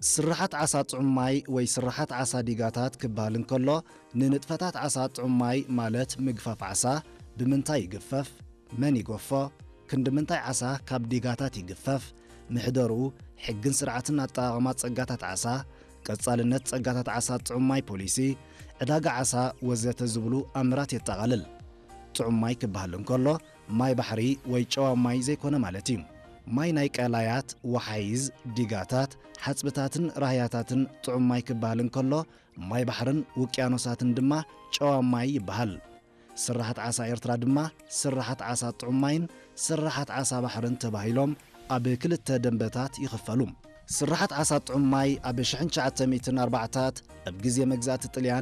ስርሓት ዓሳ ጥዑም ማይ ወይ ስርሓት ዓሳ ዲጋታት ክበሃል እንከሎ፣ ንንጥፈታት ዓሳ ጥዑም ማይ ማለት ምግፋፍ ዓሳ፣ ብምንታይ ይግፈፍ፣ መን ይገፎ፣ ክንዲ ምንታይ ዓሳ ካብ ዲጋታት ይግፈፍ፣ ምሕደርኡ፣ ሕግን ስርዓትን ኣጠቓቕማ ጸጋታት ዓሳ፣ ቀጻልነት ጸጋታት ዓሳ ጥዑም ማይ ፖሊሲ፣ ዕዳጋ ዓሳ ወዘተ ዝብሉ ኣምራት የጠቓልል። ጥዑም ማይ ክበሃል እንከሎ፣ ማይ ባሕሪ ወይ ጨዋ ማይ ዘይኮነ ማለት እዩ። ማይ ናይ ቀላያት፣ ወሓይዝ፣ ዲጋታት፣ ሓጽብታትን ራህያታትን ጥዑም ማይ ክበሃል እንከሎ፣ ማይ ባሕርን ውቅያኖሳትን ድማ ጨዋ ማይ ይበሃል። ስርሓት ዓሳ ኤርትራ ድማ ስርሓት ዓሳ ጥዑም ማይን ስርሓት ዓሳ ባሕርን ተባሂሎም ኣብ ክልተ ደንበታት ይኽፈሉ። ስርሓት ዓሳ ጥዑም ማይ ኣብ ሽሕን ትሽዓተ ሚእትን ኣርባዕታት ኣብ ግዜ መግዛእቲ ጥልያን